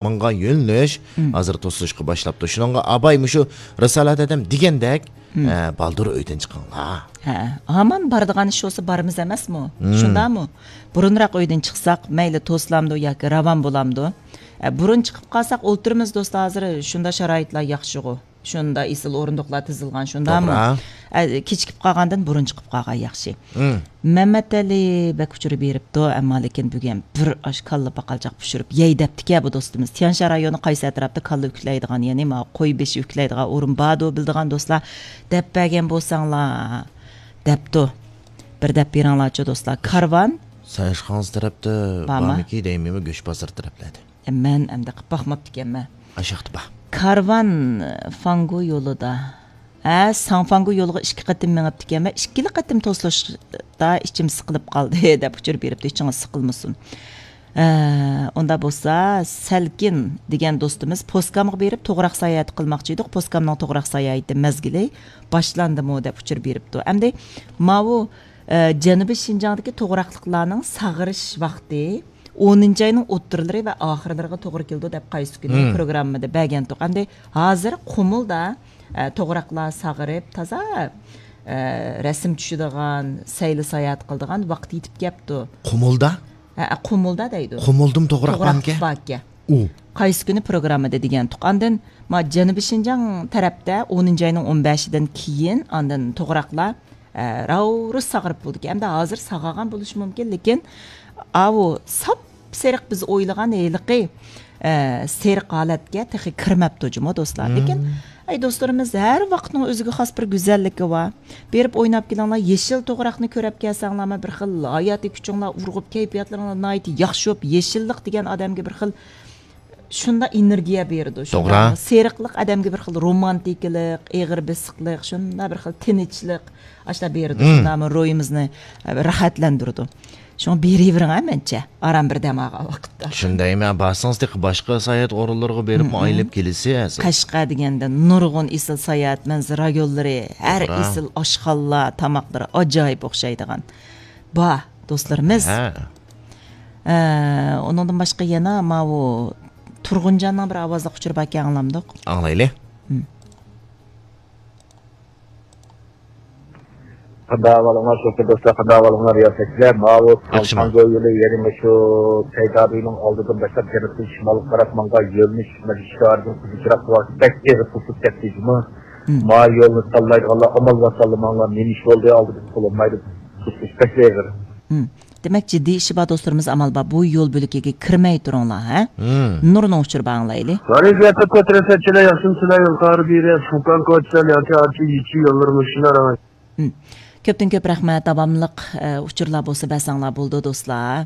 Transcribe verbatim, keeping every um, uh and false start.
ماڭغان يۆنىلىش ھازىر توسۇلۇشقا باشلاپتۇ. شۇنىڭغا ئاباي مۇشۇ رىسالەت ھەدەم دېگەندەك، ئە، بالدۇر ئۆيدىن چىقىڭلار. ھە، ھامان بارىدىغان ئىش بولسا بارىمىز ئەمەسمۇ؟ شۇنداقمۇ؟ بۇرۇنراق ئۆيدىن چىقساق، مەيلى توسۇلامدۇ ياكى راۋان بولامدۇ؟ ئە، بۇرۇن چىقىپ قالساق ئولتۇرىمىز دوستلار، ھازىر شۇنداق شارائىتلار ياخشىغۇ. شۇنداق ئېسىل ئورۇندۇقلار تىزىلغان، شۇنداقمۇ؟ توغرا. ئە، كېچىكىپ قالغاندىن بۇرۇن چىقىپ قالغان ياخشى. مم. مەمەتئەلى بەك ئۇچۇر بېرىپتۇ، ئەمما لېكىن بۈگۈن بىر ئاش كاللا پاقالچاق پىشۇرۇپ يەي دەپتىكەن بۇ دوستىمىز. تيەنشان رايونى قايسى ئەتراپتا كاللا ئۈكلەيدىغان، يەنى ما قوي بېشى ئۈكلەيدىغان ئورۇن باردۇ، بىلىدىغان دوستلار دەپ بەرگەن بولساڭلار دەپتۇ. بىر دەپ بېرىڭلارچۇ دوستلار. كارۋان سەنشخاڭزى تەرەپتە بارمۇ؟ بارمىكى دەيمەنمۇ، گۆش بازىرى تەرەپلەردە. مەن ئەمدى قىپ باقماپتىكەنمەن. ئاشاقتا بار. كارۋان فاڭگۇ يولىدا. ھە، ساڭفاڭگۇ يولىغا ئىككى قېتىم مېڭىپتىكەنمەن. ئىككىلا قېتىم توسۇلۇشتا ئىچىم سىقىلىپ قالدى، دەپ ئۇچۇر بېرىپتۇ. ئىچىڭىز سىقىلمىسۇن. ئە، ئۇنداق بولسا، سەلكىن دېگەن دوستىمىز پوسكامغا بېرىپ توغراق ساياھىتى قىلماقچى ئىدۇق. پوسكامنىڭ توغراق ساياھىتى مەزگىلى باشلاندىمۇ، دەپ ئۇچۇر بېرىپتۇ. ئەمدى ماۋۇ، ئە، جەنۇبىي شىنجاڭدىكى توغراقلىقلارنىڭ ساغىرىش ۋاقتى ئونىنچى ئاينىڭ ئوتتۇرىلىرى ۋە ئاخىرلىرىغا توغرا كېلىدۇ دەپ قايسى كۈنى مم. پروگراممىدا بەرگەنتۇق. ئەمدى ھازىر قۇمۇلدا، ئە، توغراقلار ساغىرىپ، تازا، ئە، رەسىم چۈشىدىغان، سەيلە ساياھەت قىلىدىغان ۋاقىت يېتىپ كەپتۇ. قۇمۇلدا؟ ھە، قۇمۇلدا دەيدۇ. قۇمۇلدىمۇ توغراق توغراق بارمىكەن؟ باركەن. ئۇ. قايسى كۈنى پروگراممىدا دېگەنتۇق. ئاندىن ما جەنۇبىي شىنجاڭ تەرەپتە ئونىنچى ئاينىڭ ئون بەشىدىن كېيىن ئاندىن توغراقلار ئە، راۋرۇس ساغىرىپ بولىدىكەن. ئەمدى ھازىر ساغىغان بولۇشى مۇمكىن، لېكىن ئاۋۇ ساپسېرىق بىز ئويلىغان ھېلىقى، ئە، سېرىق ھالەتكە تېخى كىرمەپتۇ جۇمۇ دوستلار. لېكىن، ئەي دوستلىرىمىز، ھەر ۋاقىتنىڭ ئۆزىگە خاس بىر گۈزەللىكى بار. بېرىپ ئويناپ كېلىڭلار، يېشىل توغراقنى كۆرەپ كەلسەڭلارمۇ بىر خىل ھاياتىي كۈچۈڭلار ئۇرغۇپ، كەيپىياتلىرىڭلار ناھايىتى ياخشى بولۇپ، يېشىللىق دېگەن ئادەمگە بىر خىل شۇنداق ئېنېرگىيە بېرىدۇ. توغرا. شۇنداقمۇ؟ سېرىقلىق ئادەمگە بىر خىل رومانتىكىلىق، ئېغىر بېسىقلىق، شۇنداق بىر خىل تىنچلىق، ئاشۇنداق بېرىدۇ. مم. شۇنداقمۇ؟ روھىمىزنى، ئە، راھەتلەندۈرىدۇ. شۇڭا بېرىۋېرىڭ، ھە، مەنچە. ئاران بىر دەم ئالغان ۋاقىتتا. شۇندايمەن، بارسىڭىز تېخى باشقا ساياھەت ئورۇنلىرىغا بېرىپمۇ مم. ئايلىنىپ كېلىسىز. قەشقەر دېگەندە نۇرغۇن ئېسىل ساياھەت مەنزىرە رايونلىرى، ھەر توغرا. ئېسىل ئاشخانىلار، تاماقلىرى ئاجايىپ ئوخشايدىغان. بار، دوستلىرىمىز. ھە. ئە، ئۇنىڭدىن باشقا يەنە ماۋۇ تۇرغۇنجاننىڭ بىر ئاۋازلىق ئۇچۇرى باركەن، ئاڭلامدۇق؟ ئاڭلايلى. ھىم. قانداق ئەھۋالىڭلار، سۆھبەت دوستلار، قانداق ئەھۋالىڭلار، رىياسەتچىلەر؟ ماۋۇ ياخشىمۇ؟ ساڭفاڭگو يولى، يەنى مۇشۇ سەيدادىنىڭ ئالدىدىن باشلاپ جەنۇبتىن شىمالغا قاراپ ماڭغان يۆنىلىش، مانا شىكارىدىن قىزىل چىراغ بەك ئېغىر توسۇپ كەتتى جۇمۇ. ھىم. ما يولنى تاللايدىغانلار ئامال بار تاللىماڭلار، نېمە ئىش بولدى، ئالدىدا بولالمايدۇ. توسۇش بەك ئېغىر. ھىم. دېمەك، جىددىي ئىشى بار دوستلىرىمىز ئامال بار بۇ يول بۆلىكىگە كىرمەي تۇرۇڭلار، ھە؟ ھىم. نۇرنىڭ ئۇچۇرى بار ئاڭلايلى. ۋەزىيەتتە تۆت رەسەتچىلەر ياخشىمۇ، سىلەر يول قارى بېرە، فۇكان كوچىسەن ياكى ئارچى يىچى يوللىرى مۇشۇلار ئاڭا. ھىم. كۆپتىن كۆپ رەھمەت، داۋاملىق، ئە، ئۇچۇرلار بولسا بەرسەڭلار بولىدۇ دوستلار.